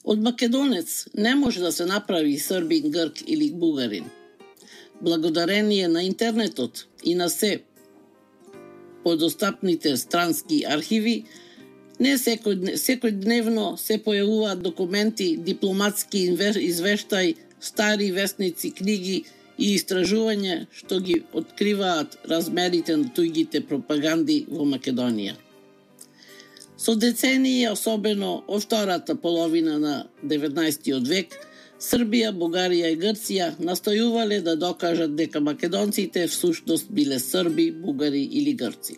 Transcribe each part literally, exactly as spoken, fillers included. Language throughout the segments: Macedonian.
Од македонец не може да се направи србин, грк или бугарин. Благодарение на интернетот и на се подостапните странски архиви, не секој, секојдневно се појавуваат документи, дипломатски извештај, стари вестници, книги и истражувања што ги откриваат размерите на туѓите пропаганди во Македонија. Со децении, особено од втората половина на деветнаесеттиот век, Србија, Бугарија и Грција настојувале да докажат дека македонците всушност биле срби, бугари или грци.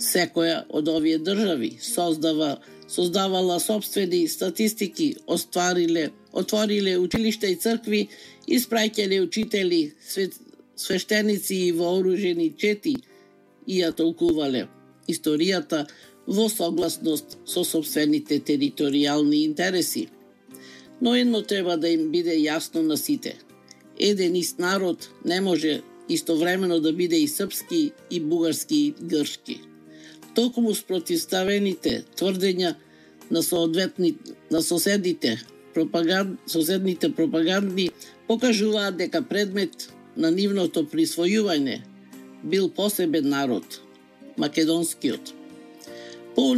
Секоја од овие држави создава, создавала собствени статистики, оствариле, отвориле училишта и цркви, испраќале учители, свет, свештеници и вооружени чети и ја толкувале историјата во согласност со собствените територијални интереси. Но едно треба да им биде јасно на сите. Еден ист народ не може истовремено да биде и српски, и бугарски, и грчки. Токму спротивставените тврдења на соодветни на соседите пропаганд, соседните пропаганди покажуваат дека предмет на нивното присвојување бил посебен народ, македонскиот. По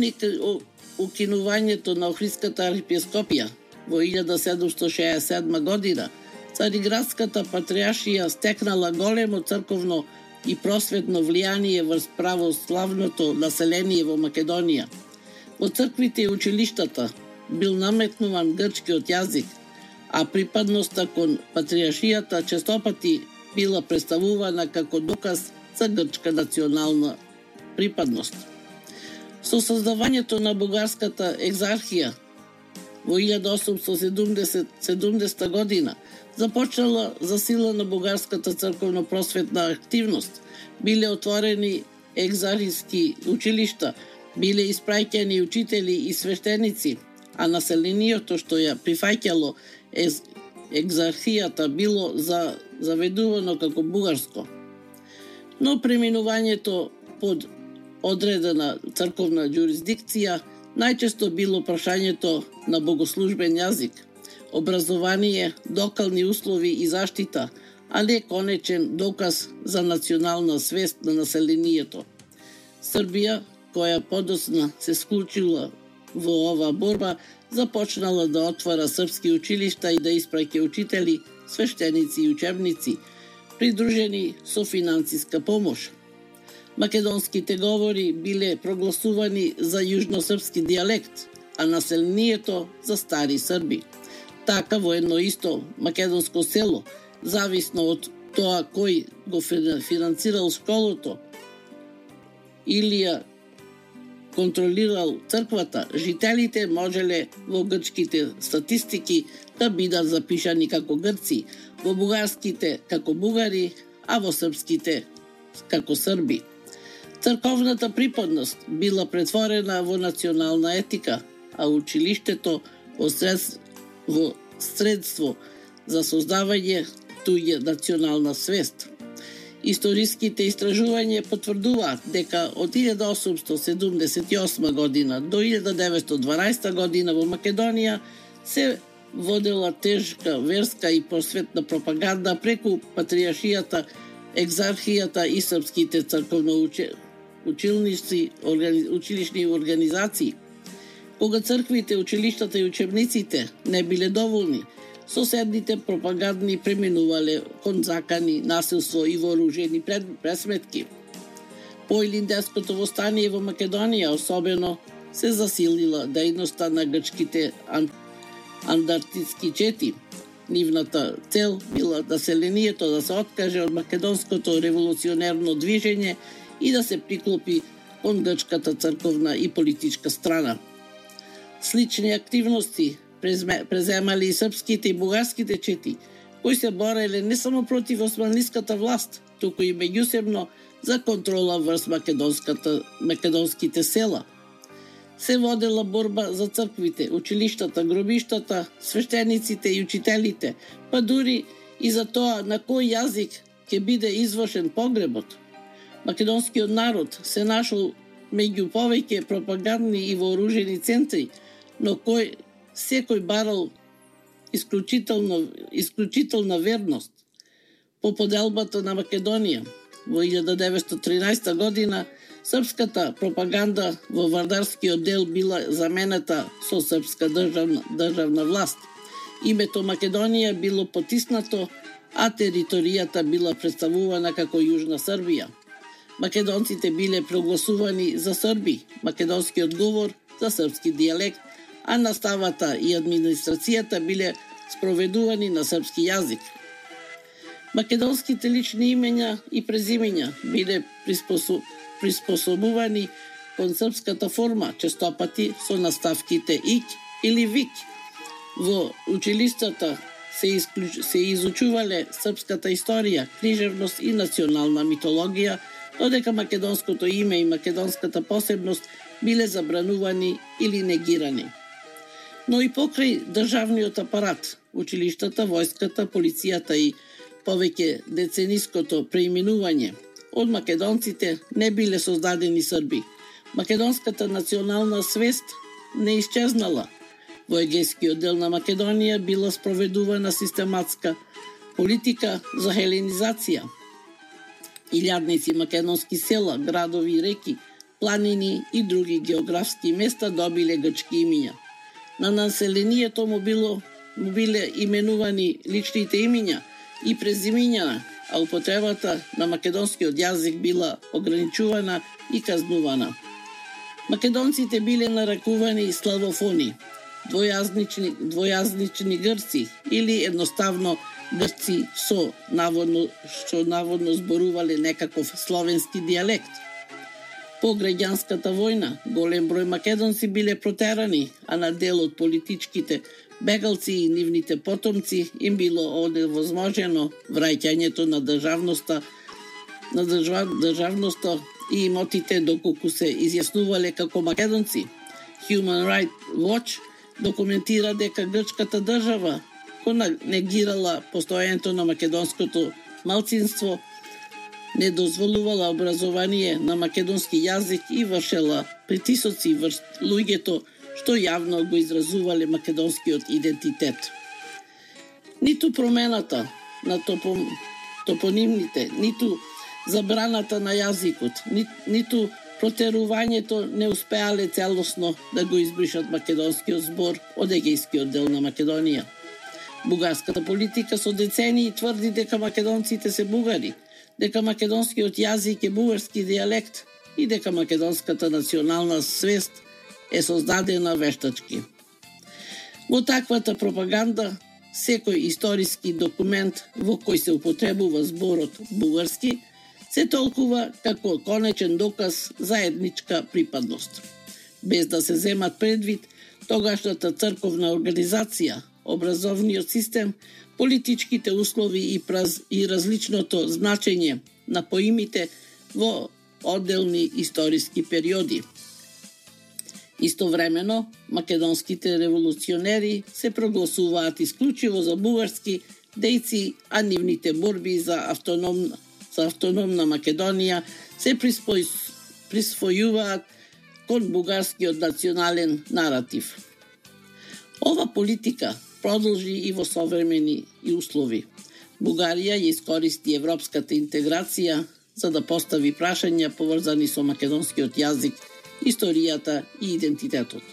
укинувањето на Охридската архиепископија во илјада седумстотини шеесет и седма година, Цариградската патријаршија стекнала големо црковно и просветно влијание врз православното население во Македонија. Во црквите и училиштата бил наметнуван грчкиот јазик, а припадноста кон патријаршијата честопати била представувана како доказ за грчка национална припадност. Со создавањето на бугарската екзархија во илјада осумстотини и седумдесета година започнала засилена бугарската црковно-просветна активност, биле отворени екзархиски училишта, биле испраќани учители и свештеници, а населението што ја прифаќало екзархијата било за заведувано како бугарско. Но преминувањето под одредена црковна јурисдикција најчесто било прашањето на богослужбен јазик, образование, докални услови и заштита, а не конечен доказ за национална свест на населението. Србија, која подоцна се склучила во оваа борба, започнала да отвара српски училишта и да испраќа учители, свештеници и учебници, придружени со финансиска помош. Македонските говори биле прогласувани за јужносрпски дијалект, а населението за стари срби. Така во едно исто македонско село, зависно од тоа кој го финансирал школото или ја контролирал црквата, жителите можеле во грчките статистики да бидат запишани како грци, во бугарските како бугари, а во српските како срби. Црковната припадност била претворена во национална етика, а училиштето во, сред... во средство за создавање туѓа национална свест. Историските истражувања потврдуваат дека од илјада осумстотини седумдесет и осма година до илјада деветстотини дванаесета година во Македонија се водела тежка верска и просветна пропаганда преку патријаршијата, екзархијата и српските црковно училници, органи, училишни организации. Кога црквите, училиштата и учебниците не биле доволни, соседните пропагандни преминувале кон закани, насилство и вооружени пресметки. По Илинденското востание во Македонија особено се засилила дејноста на грчките андартистски чети. Нивната цел била населението да се откаже од македонското револуционерно движење и да се приклопи кон грчката црковна и политичка страна. Слични активности преземали и српските и бугарските чети, кои се бореле не само против османлиската власт, туку и меѓусебно за контрола врз македонската македонските села. Се водела борба за црквите, училиштата, гробиштата, свештениците и учителите, па дури и за тоа на кој јазик ќе биде извршен погребот. Македонскиот народ се нашол меѓу повеќе пропагандни и вооружени центри, но кој секој барал исклучително, исклучителна верност по поделбата на Македонија. Во илјада деветстотини и тринаесета година српската пропаганда во Вардарскиот дел била заменета со српска државна, државна власт. Името Македонија било потиснато, а територијата била представувана како Јужна Србија. Македонците биле прогласувани за срби, македонскиот говор за српски дијалект, а наставата и администрацијата биле спроведувани на српски јазик. Македонските лични имења и презимења биле приспособ... приспособувани кон српската форма, честопати со наставките ик или вик. Во училиштата се, исклуч... се изучувале српската историја, книжевност и национална митологија, додека македонското име и македонската посебност биле забранувани или негирани. Но и покрај државниот апарат, училиштата, војската, полицијата и повеќе децениското преименување од македонците не биле создадени срби. Македонската национална свест не исчезнала. Во егејскиот дел на Македонија била спроведувана систематска политика за хеленизација. Илјадници македонски села, градови, реки, планини и други географски места добиле грчки имиња. На населението му било му биле именувани личните имиња и презимиња, а употребата на македонскиот јазик била ограничувана и казнувана. Македонците биле нарекувани славофони, двојазнични, двојазнични грци или едноставно грци со наводно што наводно зборувале некаков словенски дијалект. По граѓанската војна голем број македонци биле протерани, а на дел од политичките бегалци и нивните потомци им било оневозможено враќањето на државноста на држав, државноста и имотите доколку се изјаснувале како македонци. Human Rights Watch документира дека грчката држава која негирала постоењето на македонското малцинство, не дозволувала образование на македонски јазик и вршела притисоци врз луѓето што јавно го изразувале македонскиот идентитет. Ниту промената на топом, топонимните, ниту забраната на јазикот, ни, ниту протерувањето не успеале целосно да го избришат македонскиот збор од егејскиот дел на Македонија. Бугарската политика со децении тврди дека македонците се бугари, дека македонскиот јазик е бугарски дијалект и дека македонската национална свест е создадена вештачки. Во таквата пропаганда, секој историски документ во кој се употребува зборот бугарски се толкува како конечен доказ за етничка припадност. Без да се земат предвид тогашната црковна организација, образовниот систем, политичките услови и, праз, и различното значење на поимите во одделни историски периоди. Истовремено, македонските револуционери се прогласуваат исклучиво за бугарски дејци, а нивните борби за автономна, за автономна Македонија се приспој, присвојуваат кон бугарскиот национален наратив. Ова политика продолжи и во современи и услови. Бугарија ја искористи европската интеграција за да постави прашања поврзани со македонскиот јазик, историјата и идентитетот.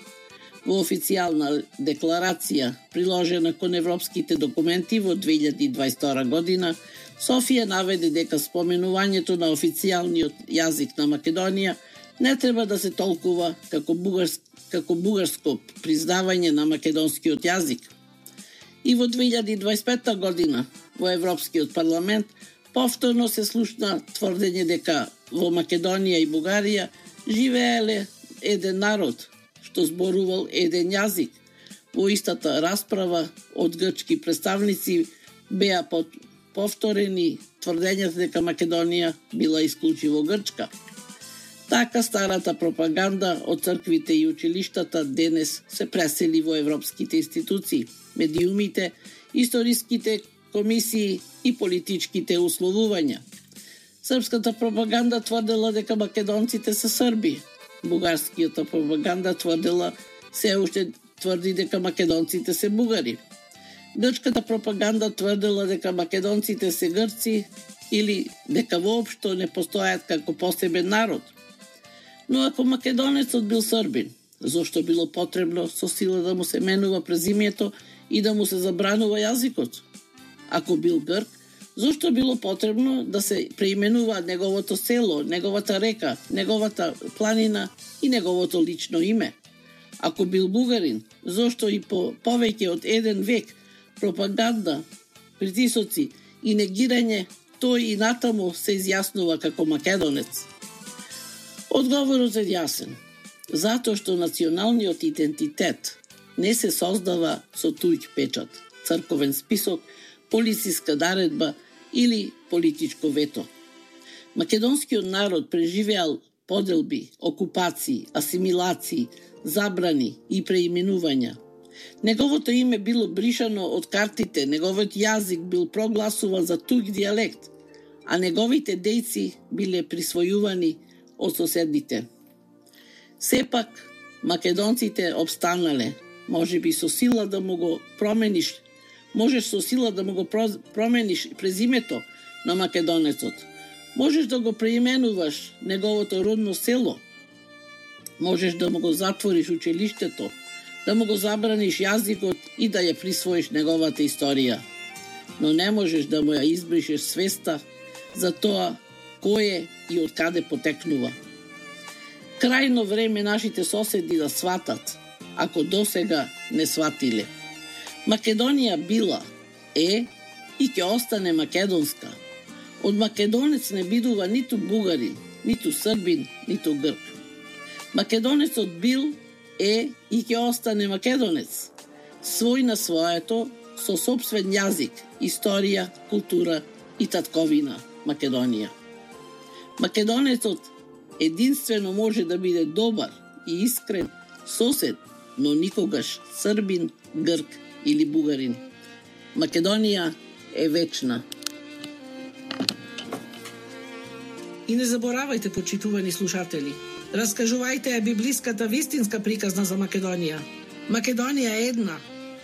Во официјална декларација, приложена кон европските документи во две илјади и дваесет и втора година, Софија наведе дека споменувањето на официјалниот јазик на Македонија не треба да се толкува како бугарско, како бугарско признавање на македонскиот јазик. И во две илјади и дваесет и пета година во Европскиот парламент повторно се слушна тврдење дека во Македонија и Бугарија живееле еден народ што зборувал еден јазик. Во истата расправа од грчки представници беа повторени тврдењата дека Македонија била исклучиво грчка. Така старата пропаганда од црквите и училиштата денес се пресели во европските институции, медиумите, историските комисии и политичките условувања. Српската пропаганда тврдела дека македонците се срби. Бугарскијата пропаганда тврдела се уште тврди дека македонците се бугари. Грчката пропаганда тврдела дека македонците се грци или дека воопшто не постојат како посебен народ. Но ако македонецот бил србин, зошто било потребно со сила да му се менува презимјето и да му се забранува јазикот? Ако бил грк, зошто било потребно да се преименува неговото село, неговата река, неговата планина и неговото лично име? Ако бил бугарин, зошто и по повеќе од еден век пропаганда, притисоци и негирање, тој и натаму се изјаснува како македонец? Одговорот е јасен. Затоа што националниот идентитет не се создава со туѓ печат, црковен список, полициска наредба или политичко вето. Македонскиот народ преживеал поделби, окупации, асимилации, забрани и преименувања. Неговото име било бришано од картите, неговиот јазик бил прогласуван за туѓ дијалект, а неговите дејци биле присвојувани од соседните. Сепак, македонците обстанале, може би со сила да му го промениш, можеш со сила да му го промениш презимето на македонецот. Можеш да го преименуваш неговото родно село. Можеш да му го затвориш училиштето, да му го забраниш јазикот и да ја присвоиш неговата историја. Но не можеш да му ја избришеш свеста за тоа кој е и од каде потекнува. Крајно време нашите соседи да сватат, ако досега не сватиле. Македонија била, е и ќе остане македонска. Од македонец не бидува ниту бугарин, ниту србин, ниту грк. Македонецот бил, е и ќе остане македонец, свој на своето, со сопствен јазик, историја, култура и татковина Македонија. Македонецот единствено може да биде добар и искрен сосед, но никогаш србин, грк или бугарин. Македонија е вечна. И не заборавајте, почитувани слушатели, раскажувајте ја библиската вистинска приказна за Македонија. Македонија е една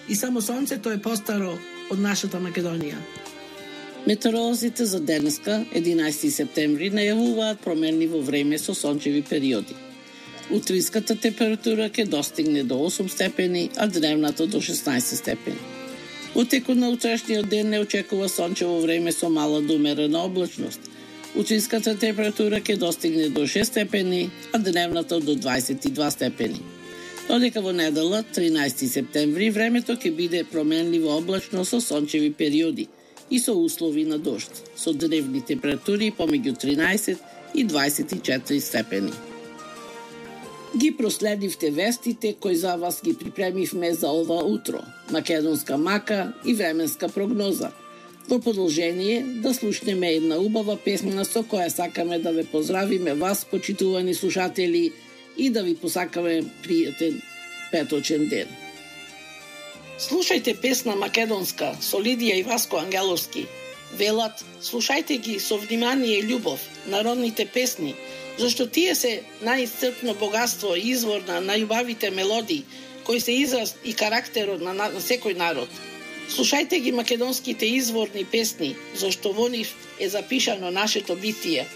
и само сонцето е постаро од нашата Македонија. Метеоролозите за денеска, единаесети септември, најавуваат променливо време со сончеви периоди. Утринската температура ќе достигне до осум степени, а дневната до шеснаесет степени. Во текот на утрешниот ден не очекува сончево време со мала до умерена облачност. Утринската температура ќе достигне до шест степени, а дневната до дваесет и два степени. Додека во недела, тринаесети септември, времето ќе биде променливо облачно со сончеви периоди и со услови на дожд, со дневни температури помеѓу тринаесет и дваесет и четири степени. Ги проследивте вестите кои за вас ги припремивме за ова утро, македонска мака и временска прогноза. Во продолжение да слушнеме една убава песна со која сакаме да ве поздравиме вас, почитувани слушатели, и да ви посакаме пријатен петочен ден. Слушајте песна македонска со Лидија и Васко Ангеловски. Велат, слушајте ги со внимание и љубов, народните песни, зашто тие се најисцрпно богатство и извор на најубавите мелодии, кои се израз и карактерот на, на, на секој народ. Слушајте ги македонските изворни песни, зашто во нив е запишано нашето битие.